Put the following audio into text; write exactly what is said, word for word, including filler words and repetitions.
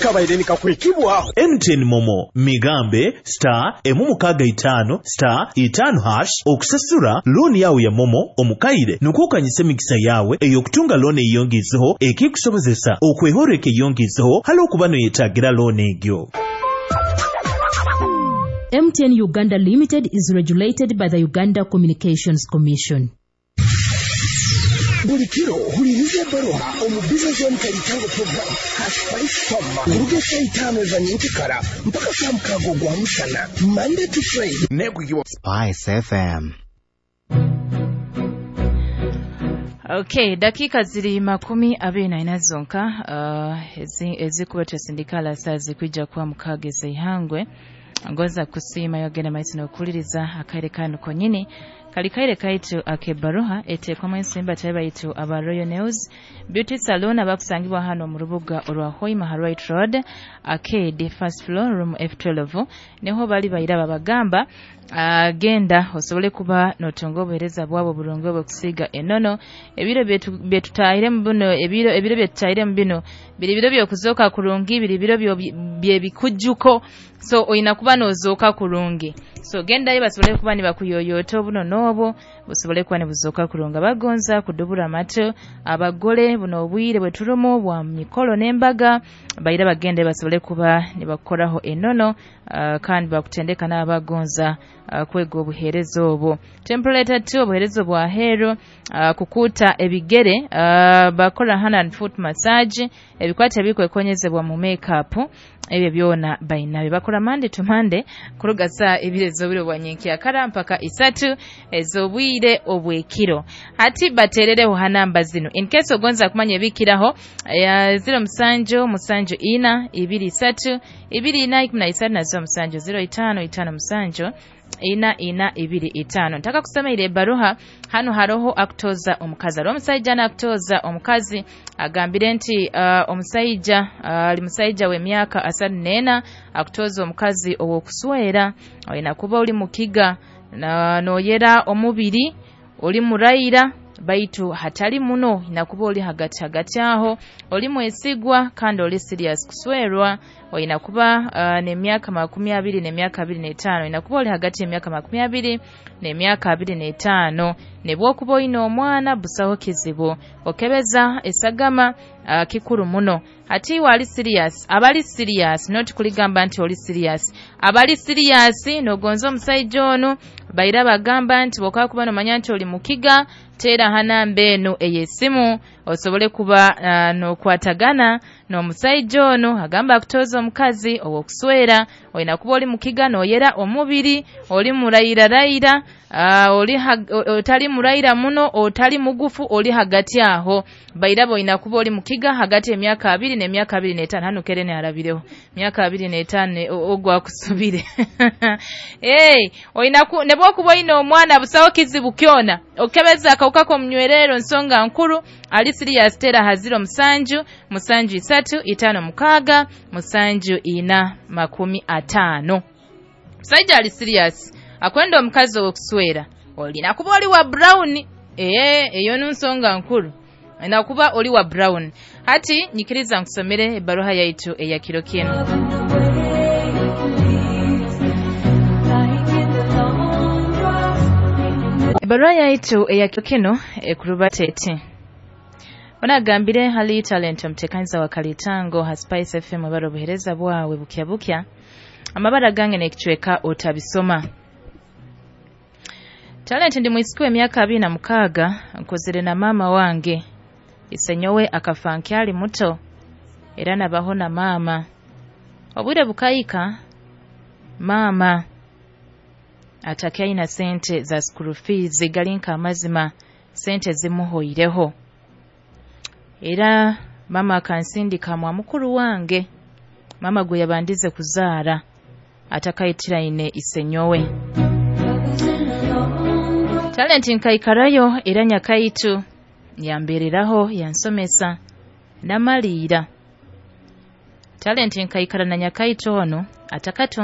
Kabaire nikakwekibwaho M T N MoMo migambe star emu mukaaga itaano star itaano hash okusasura looni yawe ya MoMo omukaire, nukwo okanyisa emikisa yawe ey'okutunga looni eyongizeho, ekikusobozesa okwehoreka eyongizeho hali okuba noyetagira looni egyo. M T N Uganda Limited is regulated by the Uganda Communications Commission. Buli kiro huliriza ebbaruha omu Business Zone Kalitango program ha Spice Farm, kuruga esaa itaano eza nyenkikara mpaka saa mukaaga ogwa musana, Monday to Friday. Nekwikibwa Spice F M. Okay, dakika ziri makumi abiri na ina zonka uh, ezi- ezikuba twesindikala saa zikwija kuba mukaaga ez'eihangwe. Ngoza kusiima yogenda maiso n'okuwuliriza akaire kanu konyini, kali kaire kaitu ak'ebbaruha eteekwamu ensimba tabe baitu aba Royal Nails Beauty Salon, abakusangibwa hano mu rubuga orwa Hoima ha Right Road Arcade, first floor, room F twelve, niho bali. Baira babagamba uh, genda osobole kuba notunga obuheereza bwabo burungi obw'okusiiga enono. Ebiro byetu- byetutahiremu bino, ebiro ebiro byetutahiremu bino biri biro byokuzooka kurungi, biri biro byo- byebikujjuko, so oyina kuba nozooka kurungi. So gendayo basobole kuba nibakuyoyoota obuno n'obwo busobole kuba nibuzooka kurungi. Abagonza kudubura amatu, abagole, buno obwire bwe turumu bwa mikolo n'embaga, baira bagende basobole kuba nibakukoraho enono, uh, kandi bakutendeka n'abagonza uh, kwega obuheereza obwo. Template two, obuheereza bwa heeru, uh, kukuuta ebigere, uh, bakora hand and foot massage, ebikwata ebikwekonyezebwa mu makeup, ebyo byona bainabyo. Bakora Monday to Monday kuruga saa ebiri ez'obwire bwa nyenkyakara mpaka isatu ez'obwire obwekiro. Hati bateerereho ha namba zino in case ogonza kumanya ebikiraho: ya zero musanju musanju ina ibiri isatu ibiri ina ikumi na isatu na zero musanju zero itaano itaano musanju ina ina ibiri itaano. Ntaka kusoma ebbaruha hano. Haroho akutoza omukazi, hariho omusaija nakutoza omukazi, agambire nti uh, omusaija ali uh, musaija w'emyaka asatu n'ena, akutoza omukazi ow'okuswera, olina kuba oli mukiga na noyera omubiri, oli murayira baitu hatali muno, inakuba oli hagati hagati aho, oli mwesigwa kandi oli serious kuswerwa. Olina kuba uh, n'emyaka makumi abiri n'emyaka abiri n'etaano, olina kuba oli hagati y'emyaka makumi abiri n'emyaka abiri n'etaano. Ne bw'okuba oyina omwana, busaho kizibu. Okebeza esagama uh, kikuru muno. Hati iwe ali serious, abali serious, not kuligamba nti oli serious, abali serious nogonza omusaija ono, baira bagamba nti bwokaba kuba nomanya nti oli mukiga, teera ha namba eno ey'essimu osobole kuba uh, n'okwatagana n'omusaija ono. Agamba akutoza omukazi ow'okuswera, olina kuba oli mukiga, n'oyera omubiri, oli murayirarayira, uh, oli otali murayira muno, otali mugufu, oli hagati aho. Bairaba olina kuba oli mukiga hagati emyaka abiri n'emyaka abiri n'etaano. Hano kerene arabireho myaka abiri n'etaano ogwakusubire. Hey, olina ne bwokuba oyina omwana, busawo kizibu kyona. Okebeza akawuka k'omunywerero nsonga nkuru. Ali serious, tera ha ziro musanju musanju isatu itaano mukaaga musanju ina makumi ataano. Musajja ali serious akwenda omukazi ow'okuswera, olina kuba oli wa brown. Ee, eyo nsonga nkuru, olina kuba oli wa brown. Hati nyikiriza nkusomere ebbaruha yaitu eya kiro kino. Ebbaruha yaitu eya kiro kino ekurubata eti: onagambire hali Talent, omuteekaniza wa Kalitango ha Spice F M, ebara obuheereza bwawe bukya bukya. Amabara gange n'ekicweka otabisoma. Talent, ndi mwisiki w'emyaka abiri na mukaaga, nkozere na maama wange. Isenyowe akafa nkyali muto, era nabaho na maama. Obwire bukayika, maama atakyaina sente za school fees, gali nk'amazima sente zimuhoireho, era maama akansindika mwa mukuru wange, maama gwe yabandize kuzaara atakayitiraine isenyowe. Talent, nkaikarayo, era nyakaitu yambereraho, yansomesa namaliira. Talent, nkaikara na nyakaitu ono atakatunga.